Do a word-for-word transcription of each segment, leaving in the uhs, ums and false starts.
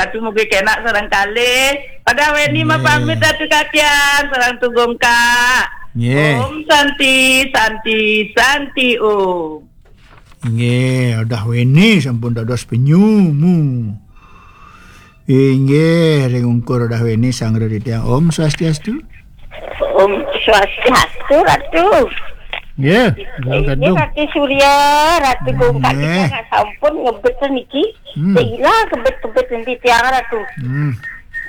Tapi mugi kenak sareng kalih. Pada weni mapamit Ratu Kakian, sareng Tugong Kak. Nggih. Om Santi, Santi, Santi Om. Inggih, udah weni sampun dados penyumu. Inggih, ring ungkur udah weni sang Ratu titiang. Om Swastiastu. Om Swastiastu, Ratu. Nggih, Ratu Gadung. Ratu Surya, Ratu Gungkat. Nggih. Kita nggak sampun ngebet niki. Hmm. Sehingga kebet-kebet nanti tiang, Ratu. Hmm.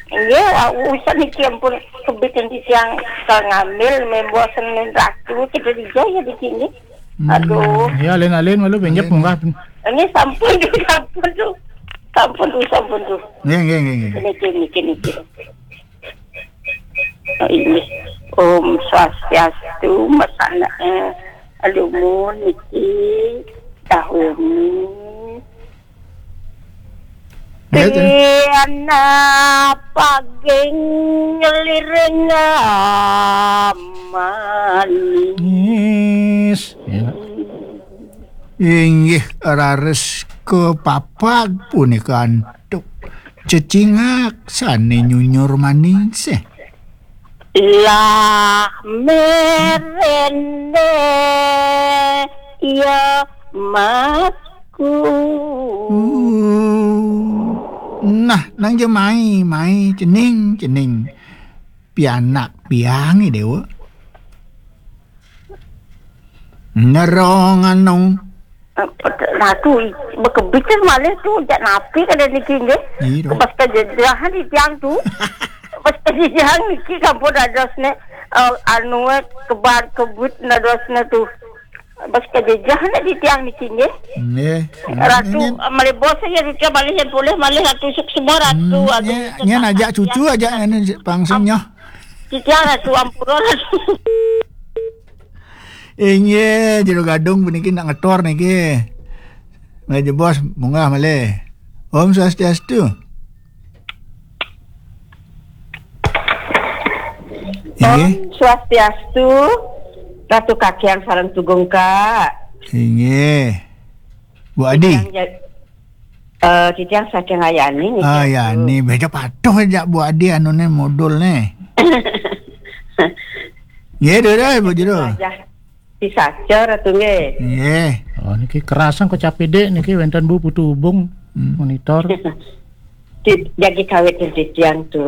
Iya, usah niki ampun kebet nanti tiang, kalau ngambil membosen Ratu, kita dijaya di sini. Hmm. Aduh. Ya, alin-alin malu benjep munggah. Ini sampun tuh, sampun tuh. Sampun tuh, sampun tuh. Nggih, nggih, nggih, nggih. Niki, niki, niki. Oh, ini. Om Swastiastu, masana, eh, alumun niki, tahun. Ya, tiang paging ngelireng manis. Ya. Inggih, raris kepapag punika antuk cecingak sane nyunyur manis. Lah merene ya masku. Uh, nah, nang jemai, mai cening, cening. Pianak piange, Dewa. Nerong anong. Ratu, bekebit malih tu, jak napi kada niki nggih. Iya. Pas kejejahan di tiang tu. Pas kejejahan niki sampun dadosne, eh, anu, eh, kebar kebut dadosne tu. Pas kejejahan di tiang niki nggih. Nggih. Ratu, ini, eh, malih bos saya Ratu malih yang boleh malih Ratu sukses Ratu. Hmm, aduh, nya, nya najak cucu aja anu pangsengnyo. Titiang Ratu ampura Ratu. Inggih, Jero Gadung puniki nak ngetor niki. Malih jebos, munggah malih. Om Swastiastu. Inggih. Om Swastiastu, Ratu Kakian sareng Tugong Kak. Inggih. Bu Adi. Titiang ja-, eh, titiang saking Ayani niki. Ah, Ayani, beda patuh aja Bu Adi anune modulne. Nggih, Dora, Bu Jero. Wajah si saca, Ratu, nggih. Nggih. Oh, niki kerasan kok capidik niki wenten Bu Putu Ubung. Hmm. Monitor. Di-, jagi kawit titiang tu.